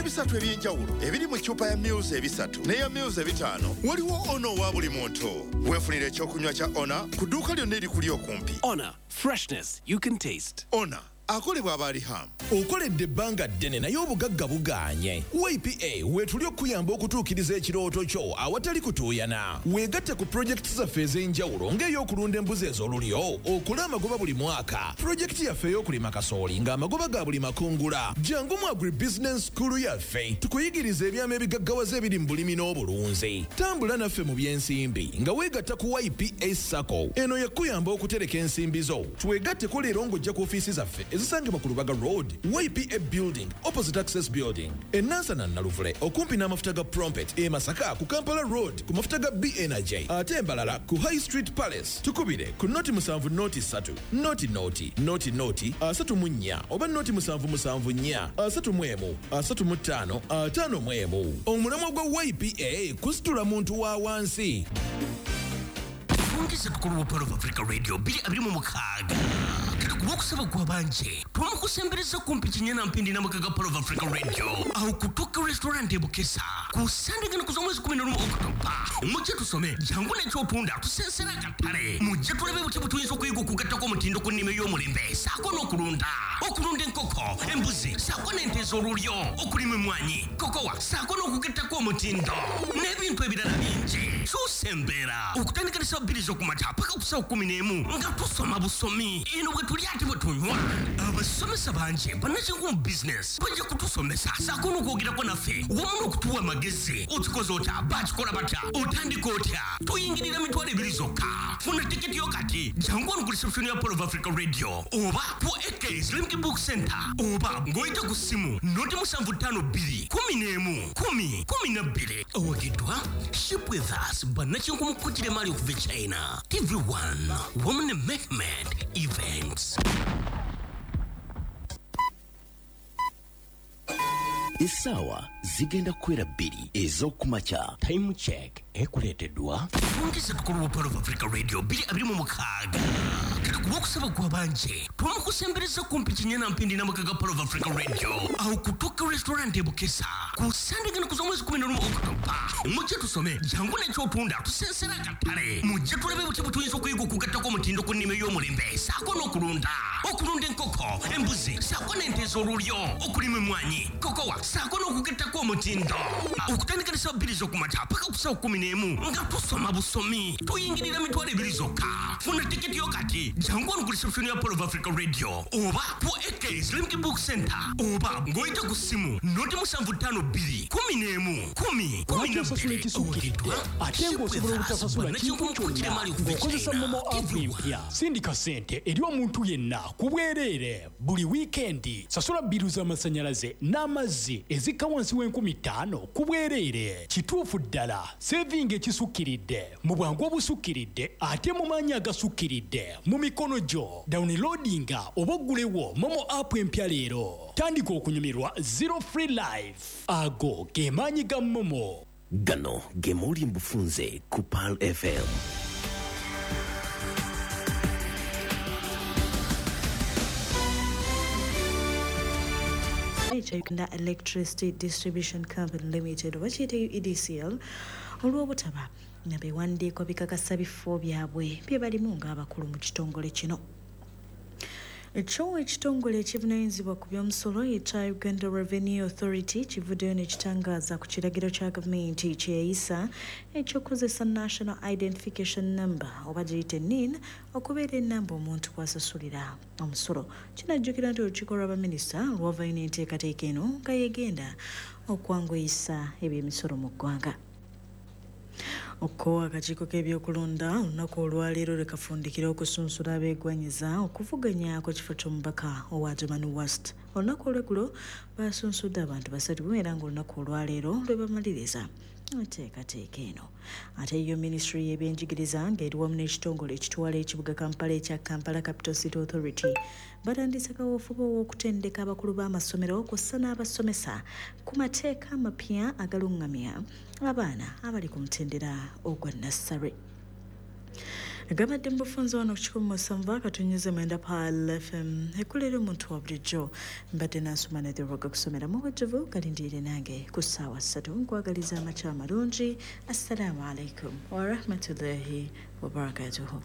Ebisatu eby'enjawulo ebiri mu ccupa ya mils 3 n'eya mils 5 waliwo Ona owa buli muntu. Weefunira ekyokunywa kya Ona ku dduuka lyonna erikuli okumpi. Honor, freshness you can taste. Ona akolebwa abaalihamu. Okoledde ebbanga ddene naye obugagga bugaanye. YPA weetuli okukuyamba okutuukiriza ekirooto kyo awatali kutuuyana. Weegatte ku pulojekiti zaffe ez'enjawulo ng'ey'okulunda embuzi ez'olulyo okole amagoba buli mwaka. Pulojekiti yaffe ey'okulima kasooli ng'amagoba ga buli makungula. Jangu mu agribusiness school yaffe tukuyigirize ebyama ebigaggawaza ebiri mu bulimi n'obulunzi. Tambula naffe mu by'ensimbi nga weegatta ku YPA SACCO. Eno yakuyamba okutereka ensimbi zo. Twegatteko leero ng'ojja ku ofiisi zaffe ezisangibwa ku Lubaga Road, YPA Building, opposite Access Building, e Nansana Naluvule okumpi n'amafuta ga Prompet, e Masaka ku Kampala Road ku mafuta ga B Energy, ate embalala ku High Street Palace. Tukubire ku 0 7 0 3 0 0 0 0 34 oba 0 7 7 4 31 35 51. Omulamwa gwa YPA kusitula muntu wa wansi. Fungisa tukulu wa Pearl of Africa Radio 2026. Kati ku lwokusaba gw'abanje twamukusembereza kumpi kinyana mpindi n'amaka ga Pearl of Africa Radio awo ku Tokyo Restaurant e Bukesa ku Sande gano kuza omwezi 11 Okutoba. Mujje tusome, jangu n'ekyotunda tusensera akatale. Mujje tulabe butya bwe tuyinza okuyiga okugattako omutindo ku nnima ey'omulembe saako n'okulunda enkoko, embuzi saako n'ente ez'olulyo, okulima emmwanyi, kokowa saako n'okugattako omutindo n'ebintu ebirala bingi. Kyusa embeera okutandika ne ssaawa 2 z'okumakya paka ku ssaawa 11 nga tusoma busomi eno bwe tulya ate bwe tunywa. Abasomesa bangi bannakinku mu bizinesi bajja kutusomesa saako n'okwogerako naffe wamu n'okutuwa amagezi. Okikoze otya? Bakikola batya? Otandika otya? Tuyingirira 20,000 zokka. Funa tiketi yo kati, jangu wano ku reception ya Pearl of Africa Radio oba ku AKs Limki Book Center oba ng'oyita ku ssimu 0 752 11 10 12. Owagiddwa Ship With Us, bannakinku mu kukira emaali okuva e China, TV1 wamu ne Mehmed Events. Essaawa zigenda kukwera 2 ez'okumakya. Time Check ekuleeteddwa Fungisa tukulu wa Pearl of Africa Radio 2026. Kati ku lwokusaba gw'abanje twamukusembereza kumpi kinyana mpindi n'amaka ga Pearl of Africa Radio awo ku Tokyo Restaurant e Bukesa ku Sande gano kuza omwezi 11 Okutoba. Mujje tusome, jangu n'ekyotunda tusensera akatale. Mujje tulabe butya bwe tuyinza okuyiga okugattako omutindo ku nnima ey'omulembe saako n'okulunda enkoko, embuzi saako n'ente ez'olulyo, okulima emmwanyi, kokowa saako n'okugattako omutindo okutandika ne ssaawa 2 z'okumakya paka ku ssaawa 11 nga tusoma busomi. Tuyingirira 20,000 zokka. Funa tiketi yo kati, jangu wano ku reception ya Pearl of Africa Radio oba ku AKs Limki Book Center oba ng'oyita ku ssimu 0 752 11 10 Lwaki osasula 12. ekisukkiridde ate ng'osobola obutasasula kintu kyonna ng'okozesa MoMo app empya? Sindika ssente eri omuntu yenna ku bwereere buli wiikendi. Sasula bill z'amasannyalaze n'amazzi ezikka wansi w'5,000 ku bwereere. Kituufu ddala, saving ekisukkiridde mu bwangu obusukkiridde ate mu maanyi agasukkiridde mu mikono gyo. Downloadinga oba oggulewo MoMo app empya leero. Tandika okunyumirwa zero free life. Ago ge maanyi ga MoMo. Gano ge mawulire mu bufunze ku Pearl FM. Ekya Uganda Electricity Distribution Company Limited oba kiyite UEDCL olw'obutaba na biwandiiko bikakasa bifo byabwe bye balimu ng'abakulu mu kitongole kino. Ekyo ekitongole ekivunaanyizibwa ku by'omusolo ekya Uganda Revenue Authority kivuddeyo ne kitangaaza ku kiragiro kya gavumenti kyeyayisa ekyokukozesa National Identification Number oba giyite NIN okubeera ennamba omuntu kw'asasulira omusolo. Kinajjukira nti olukiiko lw'abaminisita lwavayo n'enteekateeka eno nga yegenda okwanguyisa ebyemisolo mu ggwanga. Okko akakiiko k'ebyokulonda olunaku olwaleero lwe kafundikira okusunsula abeegwanyiza okuvuganya ku kifo ky'omubaka owa Adjumani West. Olunaku olweggulo basunsudde abantu basatu era ng'olunaku olwaleero lwe bamaliriza enteekateeka eno. Ate yo minisitule y'ebyenjigiriza ng'eri wamu n'ekitongole ekitwala ekibuga Kampala ekya Kampala Capital City Authority batandise kaweefube ow'okutendeka abakulu b'amasomero kw'ossa n'abasomesa ku mateeka amapya agalungamya abaana abali ku mutendera ogwa nursery. Gabadde mu bufunze wano ku 107.9 Pearl FM, ekulera omuntu wa bulijjo. Mbadde nansoma netherwaga kusomera mu bujjuvu, kalindiire nange ku ssaawa 3. Nkwagaliza amakya amalungi. Assalaamu alaikum warahmatullahi wabarakatuhu.